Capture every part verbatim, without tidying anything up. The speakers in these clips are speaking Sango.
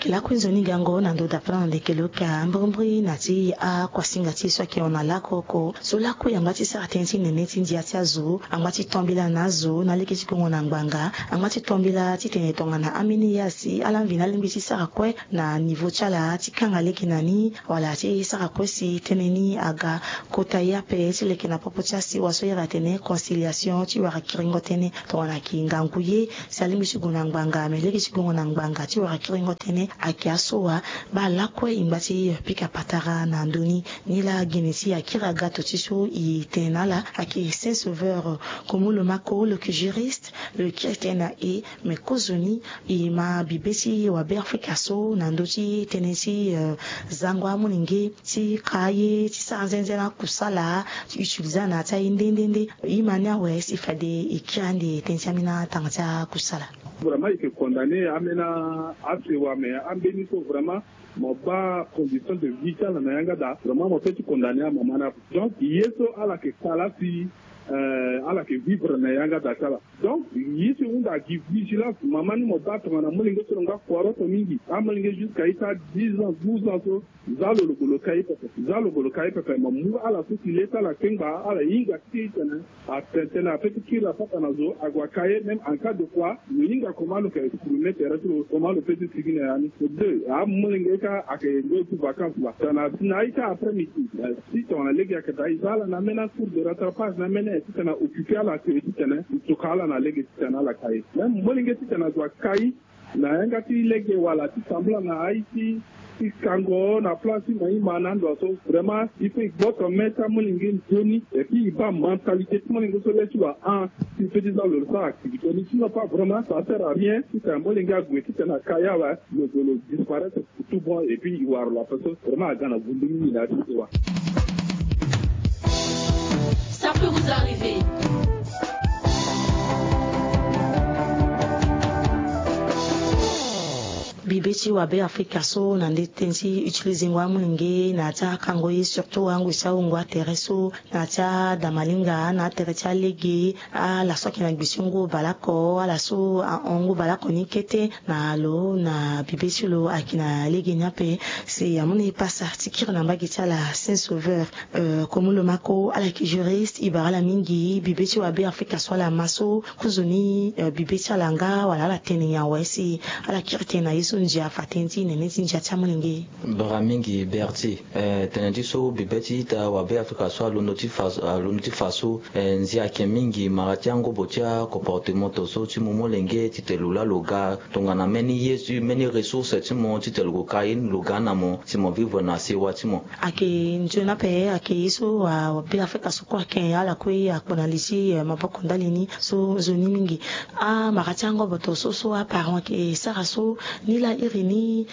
Ke lakue nzoni gango na ndo dapana na ndeke lo ka mbrimbri na ti akuasinga ti e so ayeke hon na lako oko so lakue angba ti sara tënë ti nene ti ndia ti azo, angba ti tambela na azo na lege ti gongo na ngbanga, angba ti tambela titene tongana ambeni ye asi ala mvini alingbi ti sara kue na nivo ti ala ti kanga lege na ni wala ti sara kue si tënë ni aga kota ye ape ti leke na popo ti asiwa so iri atene conciliation ti wara kiringo tënë tongana ayeke ngangu ye si alingbi ti gue na ngbanga me lege ti gongo na ngbanga ti wara kiringo tënë ayeke aso wa. Baa lakue e ngba ti pika patara na ndö ni. Nilaa gene ti akiri agato ti so e tene na ala ayeke Saint Sauveur Komolo Mako lo yeke juriste lo yeke kiri tënë na e. Me kozoni e ma bibe ti wabe Afrika so na ndö ti tënë ti zango amolenge ti ka ye ti sara nzenze na akusala ti utilize ana ti aye nde nde nde. E ma ni awe si fade e kiri ande tënë ti ambeni atanga ti akusala. Vraiment e yeke condamné ambeni asewa me ambeni so vraiment mo baa condition de vie ti ala na yanga daa vraiment mo peut ti condamné amama ni ape. Donc ye so ala yeke ka laa si ala yeke vivre na yanga daa ti ala. Donc ye so e hunda gi vigilance mama ni mo baa tongana molenge so lo nga kuaroto mingi amolenge jusqu'à ita dix ans douze ans so. Za lo lo golo ka ye pepe za lo golo ka ye pepe mo mu ala so si le ti ala kengba ala hinga ti tene atene tene ape ti kiri apata na zo ague aka ye même en cas de quoi lo hinga comment lo yeke exprimer tere ti lo comment lo peut ti sigi na ya ni. Deux amolenge ka ayeke nzoni ti vacance la tongana si na aita après midi si tongana lege ayeke daa e za ala na ambeni acours de rattrapage na ambeni titene a occuper ala te titene e toka ala na lege titene ala ka ye même molenge titene ague aka ye na yanga ti lege wala ti tambula na aye ti ti kango na place ti maïma na ndo so vraiment il faut e gboto me ti amolenge nzoni et puis e baa mentalité ti molenge so le ti lo ahon si e peut ti za lo lo sara activité ni sinon pas vraiment ça sert à rien titene molenge ague titene aka ye awe. Lo zo lo disparaître pour tout bon et puis e wara lo ape so vraiment aga na vundu mingi na ya ti sewa. Ça peut vous arriver. Bibe ti wabe afrika so na nde tënë ti utilizengo amolenge na ya ti akango ye surtout angoi ti awungo atere so na ya ti adamalinga na atere ti alege ala so ayeke na gbi ti ngu baleoko ala so ahon ngu baleoko ni kete na lo na bibe ti lo ayeke na lege ni ape. Si amu na e pasa ti kiri na mbage ti ala saint sauveur. Komu lo mako ala yeke juriste e bara ala mingi bibe ti wabe afrika so ala ma so kozoni bibe ti ala nga wala ala tene nyen awe si ala kiri tene na ye so ndia fa tënë ti nene ti ndia ti amolenge. Bara mingi berti. Tene ti so bibe ti ita wabe afrika so alondo ti fa alondo ti fa so ndia ayeke mingi mara ti angobo ti acomportement to so ti mu molenge titene lo laa lo ga tongana mbeni ye ti mbeni ressource ti mo titene lo gue ka ye ni lo ga na mo si mo vivre na sewa ti mo. Ayeke nzoni ape ayeke ye so wabe afrika so kue ayeke ala kue akpo na li ti maboko ndali ni so nzoni mingi. Amara ti angobo to so so aparent ayeke sara so ni laa iri ni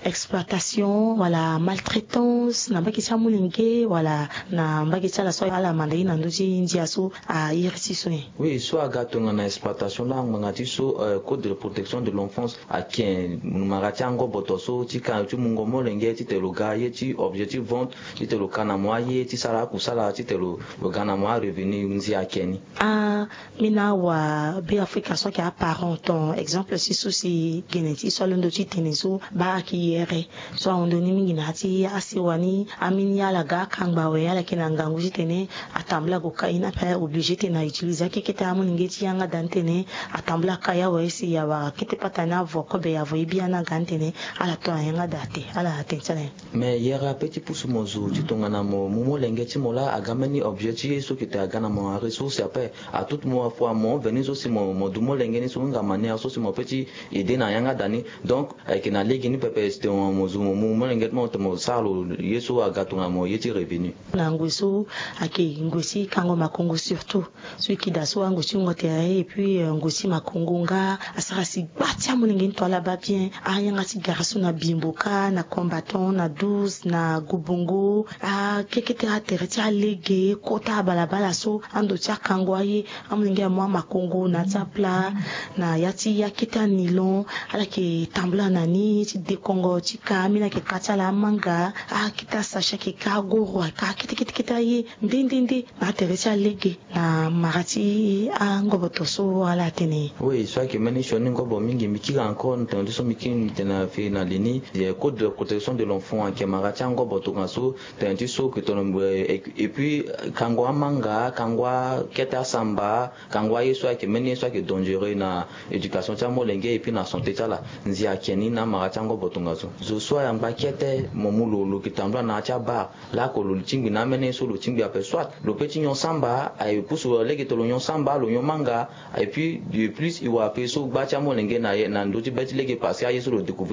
exploitation wala maltraitance na mbage ti amolenge wala na mbage ti ala so ala manda ye na ndö ti ndia so airi ti so nyen? Oui so aga tongana exploitation laa ngbanga ti so code de protection de l'enfance ayeke mara ti angobo to so ti ka ti mungo molenge titene lo ga ye ti objet ti vente titene lo ka na mo aye ti sara akusala titene lo ga na mo arevenu ndia ayeke ni. Ambeni awabe afrika so ayeke aparent ton exemple ti so si gene ti so alondo ti tene so baa ayeke yere so ahon ndoni mingi na ya ti asewa ni. Ambeni ala ga akangba awe ala yeke na ngangu titene atambula gue ka ye ni ape ala oblige titene a utilize akekete amolenge ti yanga daa ni titene atambula ka ye awe si awara kete pata ni avo kobe avo ye biani aga ni titene ala to na yanga daa te ala tene ti ala nyen? Mais yere ape ti pusu mo zo ti tongana mo mu molenge ti mo laa aga mbeni objet ti ye so yeke tene aga na mo aressource ape. Atutu mo afua mo veni so si mo mo du molenge ni so nga manière so si mo pe ti ede na yanga daa ni. Donc ayeke na lege ni pepe si tene mo zo mo mu molenge ti mo tene mo sara lo ye so aga tongana mo ye ti revenu. Na ngoi so ayeke ngoi ti kango makongo surtout so e yeke daa so angoi ti wungo tere et puis ngoi ti makongo nga asara si gba ti amolenge ni to ala baa bien. Ayanga ti gara so na bimbo kâ na combattant na douze na gobongo akekete atere ti alege kota abalabala so ando ti akango aye. Amolenge amu amakongo na ya ti aplat na ya ti akete anilon ala yeke Tambula na ni ti dekongo ti ka ambeni ayeke ka ti ala amanga, akete asachet ayeke ka agoro ayeke ka kete kete kete aye nde nde nde. Na atere ti alege na mara ti angoboto so ala atene. Oui, so ayeke mbeni sioni ngobo mingi mbi kiri encore na tene ti so mbi kiri mbi tene na fini na li ni. Code de protection de l'enfant ayeke mara ti angoboto nga so tene ti so ke tono. Et puis kango amanga kango akete asamba kango aye so ayeke mbeni ye so ayeke dangereux na éducation ti amolenge et puis na santé ti ala. Nzi ayeke ni na amara ti angoboto nga so zo so ayangba kete mo mu lo lo yeke tambula na ya ti abar. Lako lo tingbi na amene ye so lo tingbi ape soit lo pe ti nyon samba aye pusu lo lege to lo nyon samba lo nyon manga. Et puis de plus e wara pe so gba ti amolenge na ye na ndö ti be ti lege parce que aye so lo découvrir.